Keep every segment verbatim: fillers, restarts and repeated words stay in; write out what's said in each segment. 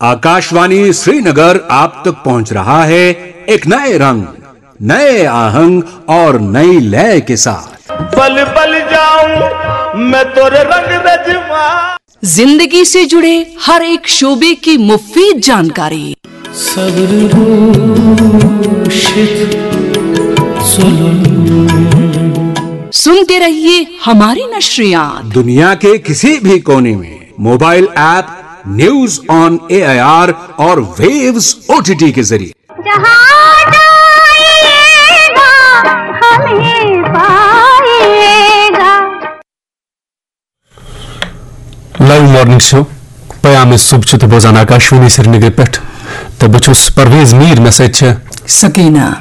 आकाशवाणी श्रीनगर आप तक पहुंच रहा है एक नए रंग, नए आहंग और नई लय के साथ। बल बल जाऊं मैं तोरे रंग रजवा। जिंदगी से जुड़े हर एक शोबे की मुफीद जानकारी। सब्र रोशित सुलुन। सुनते रहिए हमारी नशरियात। दुनिया के किसी भी कोने में mobile app news on AIR और वेव्स ओटीटी के जरिए। जहाँ जाएगा, हमें पाएगा। Live morning show پیام صبح چھِ تُہۍ بوزان آکاشوانی سرینگرٕ پٮ۪ٹھ۔ تہٕ بہٕ چھُس پرویز میٖر، مےٚ سۭتۍ چھِ سکینہ۔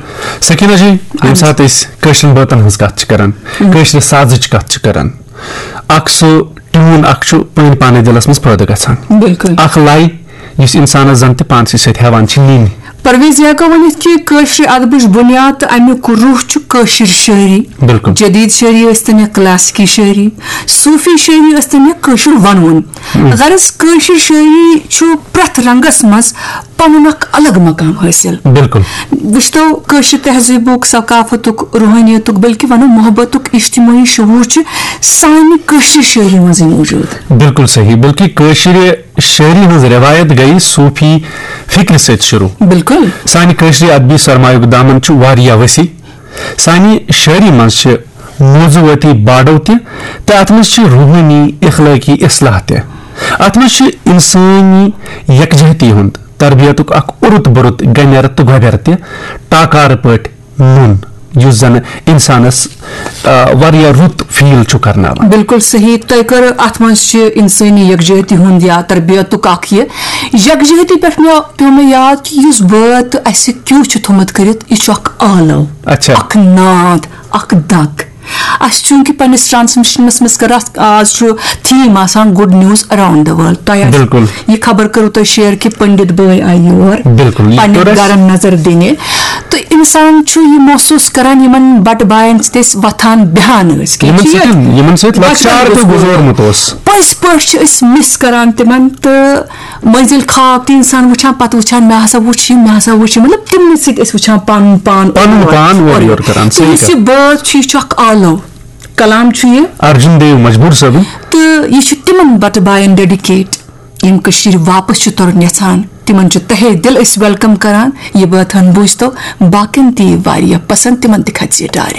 سکینہ جی، ییٚمہِ ساتہٕ أسۍ کٲشرٮ۪ن بٲتن ہٕنٛز کتھ چھِ کران، کٲشرِ سازٕچ کتھ چھِ کران، اکھ سُہ ٹیوٗن اکھ چھُ پٲنۍ پانے دِلس منٛز پٲدٕ گژھان۔ بِلکُل۔ اکھ لے یُس انسانس زن تہِ پانسٕے سۭتۍ ہٮ۪وان چھِ نِنۍ۔ پرویز، یہِ ہٮ۪کو ؤنِتھ کہِ کٲشرِ ادبٕچ بُنیاد تہٕ امیُک روح چھُ کٲشِر شٲعری۔ بِلکُل۔ جدید شٲعری ٲسۍ تن یا کلاسیکی شٲعری، صوٗفی شٲعری ٲسۍ تن یا کٲشُر ونوُن۔ غرض، کٲشِر شٲعری چھُ پرٛٮ۪تھ رنگس منٛز پنُن اکھ الگ مقام حٲصِل۔ بِلکُل۔ وٕچھتو، کٲشِر تہذیٖبُک، ثقافتُک، روحٲنیتُک، بلکہِ ونو محبتُک اجتمٲعی شعوٗر چھُ سانہِ کٲشرِ شٲعری منٛزٕے موٗجوٗد۔ بِلکُل صحیح، بلکہِ کٲشرِ شٲعری ہٕنٛز رٮ۪وایت گٔیہِ صوٗفی فِکرِ سۭتۍ شروٗع۔ بِلکُل۔ سانہِ کٲشرِ ادبی سرمایُک دامن چھُ واریاہ وسیع۔ سانہِ شٲعری منٛز چھِ موضوعٲتی باڈو تہِ، تہٕ اتھ منٛز چھِ روحٲنی اخلٲقی اصلاح تہِ۔ اتھ منٛز چھِ انسٲنی یکجہتی ہُنٛد تربیتُک اکھ اوٚرُت بوٚرُت گنٮ۪ر تہٕ گۄبٮ۪ر تہِ ٹاکارٕ پٲٹھۍ نوٚن، یُس زن انسانس، آ، واریاہ رُت فیل چھُ کرناوان۔ بِلکُل صحیح۔ تۄہہِ کٔر اتھ منٛز چھِ انسٲنی یکجہتی ہُنٛد یا تربیتُک اکھ یہِ یکجہتی پٮ۪ٹھ مےٚ پیوٚو مےٚ یاد کہِ یُس بٲتھ اسہِ کیُو چھُ تھوٚمُت کٔرِتھ، یہِ چھُ اکھ آلو، اچھا۔ اکھ ناد، اکھ دگ۔ اسہِ چوٗنٛکہِ پننِس ٹرانسمیشنس منٛز کٔر اتھ، آز چھُ تھیم آسان good news around the world۔ تۄہہِ آسہِ بِلکُل۔ یہِ خبر کٔرٕو تۄہہِ شیئر کہِ پنڈت بٲے آیہِ یور بِلکُل، یہِ پننٮ۪ن کوٚر اَسہِ۔ گرن نظر دِنہِ۔ تہٕ انسان چھُ یہِ محسوٗس کران یِمن بٹہٕ باین سۭتۍ أسۍ وۄتھان بیٚہان ٲسۍ۔ کیٛاہ یِمن چھِ یہِ؟ سۭتۍ، یِمن سۭتۍ بچپن لۄکچار تہِ گُزورمُت۔ گُزورمُت اوس۔ پٔزۍ پٲٹھۍ چھِ أسۍ مِس کران تِمن، تہٕ مٔنزِل خواب تہِ انسان وٕچھان، پتہٕ وٕچھان، مےٚ ہسا وٕچھ یہِ، مےٚ ہسا وٕچھ یہِ، مطلب تِمنٕے سۭتۍ أسۍ وٕچھان پنُن پان پنُن اورٕ یورٕ۔ پان اورٕ یورٕ کران، تہٕ صحیح یُس کتھ۔ یہِ بٲتھ چھُ، یہِ چھُ اکھ آلو، کلام چھُ یہِ۔ ارجُن دیو مجبوٗر صٲبُن۔ تہٕ یہِ چھُ تِمن بٹہٕ باین ڈیڈیکیٹ، یِم کٔشیٖرِ واپس چھِ ترُن یژھان۔ تِمن چھُ تہے دِل أسۍ ویلکم کران۔ یہِ بٲتھ ہن بوٗزتو، باقین تہِ یی واریاہ پسند، تِمن تہِ کھژِ یہِ ڈارِ۔